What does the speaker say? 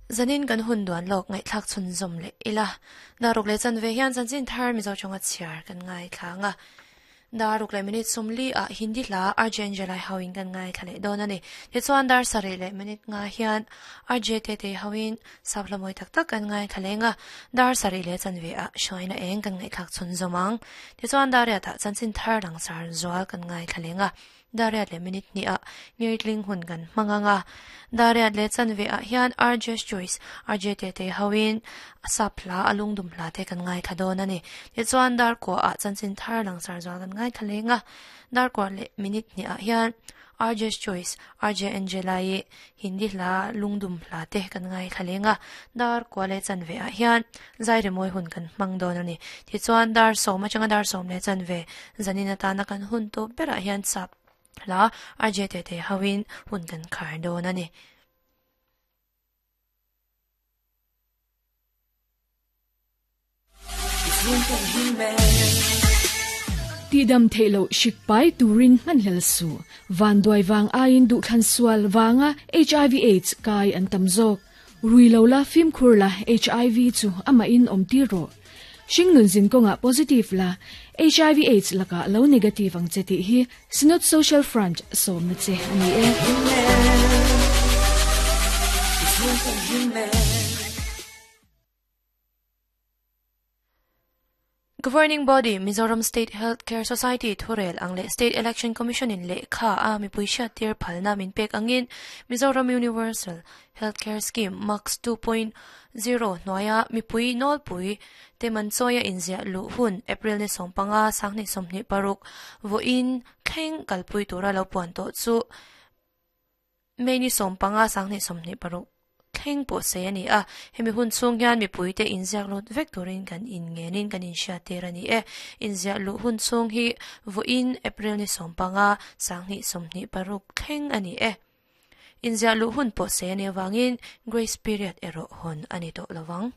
Zanin kan hun duan lawk ngaihthlak chhunzawm leh ila. Daruk leh chanve hian chanchin thar Mizo tawnga chhiar kan ngaithla ang a. Daruk leh minute 40 ah Hindi hla RJ Angelai hoin kan ngaithla leh dawn a ni. Tichuan dar 7 leh minute nga hian RJ Tete hoin sap hla mawi tak tak kan ngaithla leng a. Dar 7 leh chanve ah hruaina eng kan ngaihthlak chhunzawm ang. Tichuan dar riat ah chanchin thar langsar zual kan ngaithla leng a. Dariat leh minute hnih ah ngirtling hun kan hmang ang a. Dariat leh chanve ah hian RJ's Choice, RJ Tete hoin a sap hla, a lungdum hla te kan ngaithla dawn a ni. Tichuan dar kua ah chanchin thar langsar zual kan ngaithla leng a. Dar kua leh minute hnih ah hian RJ's Choice, RJ Angela-i Hindi hla, lungdum hla te kan ngaithla leng a. Dar kua leh chanve ah hian zai rimawi hun kan hmang dawn a ni. Tichuan dar 10 atanga dar 10 leh chanve zanin atana kan hun tawp berah hian sap hla RJ Tete hoin hun kan khar dawn a ni. Tidam theilo hrik pai turin hmanhlel su van duai wang aiin duh thlan sual wanga HIV AIDS kai an tam zawk rui lo la fim khur la HIV chu ama in om ti ro hring nun zin konga positive la HIV AIDS laka lo negative ang che ti hi Synod Social Front som na che ani e. Governing Body Mizoram State Healthcare Society Thurel ang leh State Election Commission in lehkha a mipui hriat tir phalna min pek angin Mizoram Universal Healthcare Scheme MAX 2.0 hnuaia mipui nawlpui te man chawia inziah luh hun April ni 15 2026 vawiin thleng kalpui tura lo puan tawh chu May ni 15 2026 thleng pawh sei ani a. Hemi hun chhung hian mipui te inziak lut vek turin kan in ngenin kan inhriat tir ani e. Inziah luh hun chhung hi vawiin April ni 15 2026 thleng ani e. Inziah luh hun pawh sei ani awangin grace period erawh hawn ani tawh lovang.